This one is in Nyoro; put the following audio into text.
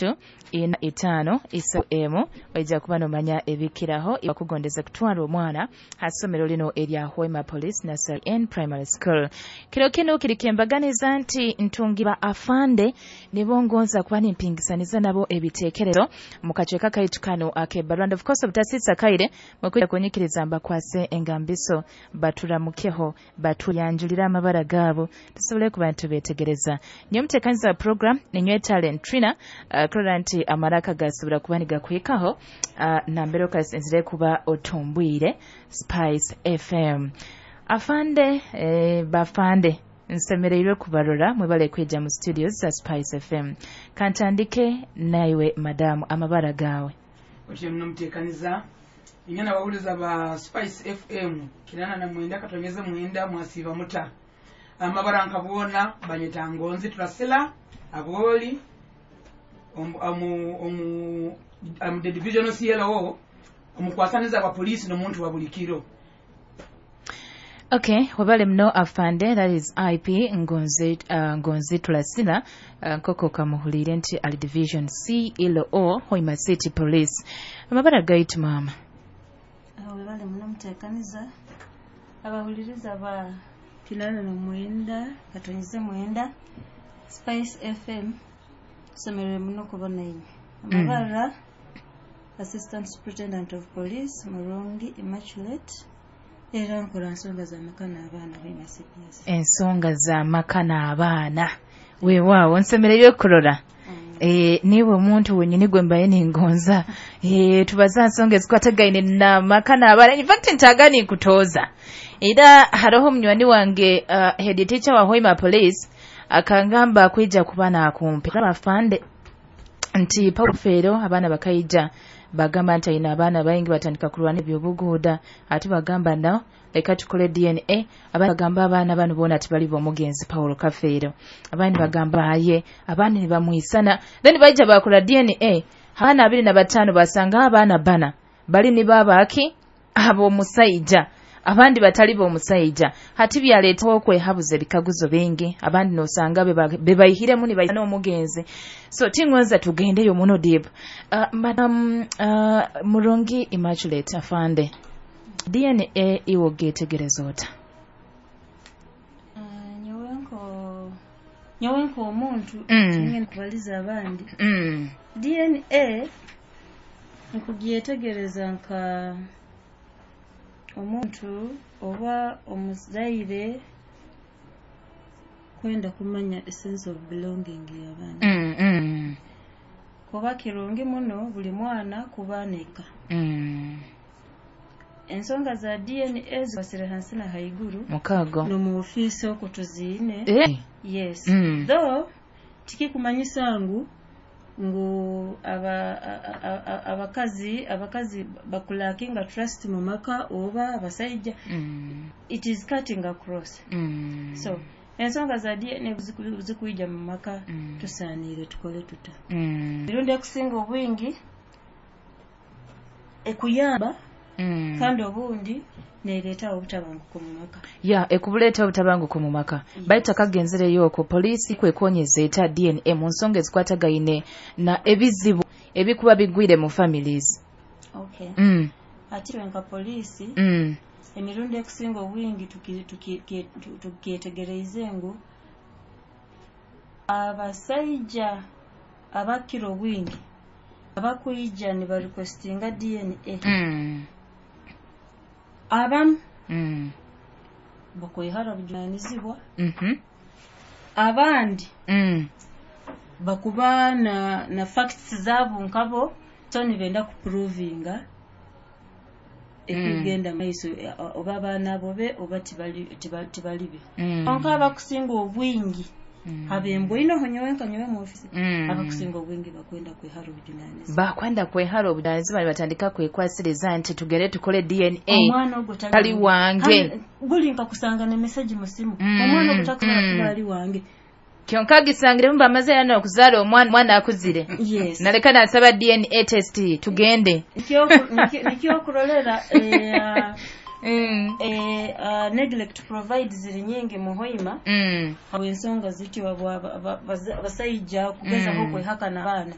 4 5 3 oija kuba nomanya ebikiraho bakugondeza kutwara omwana ha ssomero lino erya Hoima Police Nursery and Primary School. Kiro kinu kiri kyembaganiza nti ntungi ba afande nibo ngonza kuba nimpingisaniza nabo ebiteekerezo mu kacweka kaitu kano ak'e Of course, obutasisa kaire mukwija kunyikiriza mbakwase engambiso, baturamukeho, batuyanjulira amabara gaabo, tusobole kuba nitubeetegereza. Niyo muteekaniza wa program ninywe Talent Trina, kurora nti amaraka gasobora kuba nigakuhikaho nambere okasinzire kuba otumbwire Spice FM. Afande, bafande, nsemereirwe kubarora, mwebale kwija mu studios za Spice FM. Kantandike naiwe madamu, amabara gawe? Otyo munomuteekaniza inyana abawuliza ba Spice FM 89.9, mwasiiba muta? Amabara nkabwona banyeta Ngonzi Turasila Aboli, omu the divisional CLO, omukwasaniza wa poliisi n'omuntu wa buli kiro. Okay, webale muno afande, that is IP Ngonzi, Ngonzi Tulasila, nkoko kamuhuliire nti ali division CLO, Hoima City Police. Amabara gaitu, maama? Webale muno muteekaniza, abahuliriza ba 89.9 Spice FM, tusemerere muno kubona inywe. Amabara, Assistant Superintendent of Police Murungi Immaculate, era nkola nsonga z'amaka n'abaana Hoima CPS. Ensonga z'amaka n'abaana, weewaawo, nsemereire kurora. Niwe omuntu wenyini gwe mbaye ningonza tubaza nsonga ezikwatagaine n'amaka n'abaana. In fact, ntaga ninkutooza, era haroho munywani wange, head teacher wa Hoima Police, akangamba kwija kuba nakumpi abafande nti Paul Feero abaana bakaija bagamba nti ayina abaana baingi, batandika kulwana ebyobuguuda, ate bagamba no leka tukole DNA. Abandi bagamba abaana bano boona tibali b'omugenzi Paulo Kafeero, abandi bagamba aye, abandi nibamwisana. Then baija bakola DNA, abaana 25 basanga abaana bana bali ni babaaki ab'omusaija, abandi batali b'omusaija. Hati byaleetaho okwehabuza ebikaguzo bingi, abandi nosanga bebayihiremu nibaisana omugenzi. So tingonza tugendeyo muno deep. Madam Murungi Immaculate, afande, DNA iwe ogetegereza ota? Nyowe nko omuntu, tingenda kubaliza abandi. DNA nkugyetegereza nka omuntu oba omuzaire kwenda kumanya a sense of belonging y'abaana, kuba kirungi muno buli mwana kuba neka. Ensonga za DNA zikwasire hansi na haiguru. Mukago. Nomu ofiisi okwo tuziine. Yes. Though tikikumanyisa ngu abakazi bakulackinga trust mu maka oba abasaija. It is cutting across. So ensonga za DNA zikuija mu maka, tusaaniire tukole tuta? Emirundi ekusinga obwingi ekuyamba, kandi obundi nereetawo obutabanguko mu maka. Ya, ekubuleeta obutabanguko mu maka. Baitu akagenzereyo okwo, poliisi kwekonyeza eta DNA mu nsonga ezikwatagaine na ebizibu ebikuba bigwire mu families? Okay. Ati nka poliisi, emirundi ekusinga obwingi tukyetegereize ngu abasaija abakira obwingi abakwija nibarequestinga DNA, abamu bakwehara bujunanizibwa, abandi bakuba na facts zaabo nkabo, so nibenda kuprovinga ekigenda maiso, oba abaana abo be oba tibali be. Konka abakusinga obwingi abembwinoho nyowe nka nyowe mu ofisi, abakusinga obwingi bakwenda kwehara obujunanizibwa. Bakwenda kwehara obujunanizibwa, nibatandika kwekwasiriza nti tugende tukole DNA. Omwana ogwo tali wange. Kandi guli nkakusanga ne message mu simu, omwana ogwo takusobola kuba ali wange. Kyonka gisangiremu bamaze era n'okuzaala omwana, omwana akuzire, naleka nasaba DNA test tugende. Nikyokurolera neglect provide ziri nyingi mu Hoima, habw'ensonga zityo, abasaija kugezaho kwehakana abaana.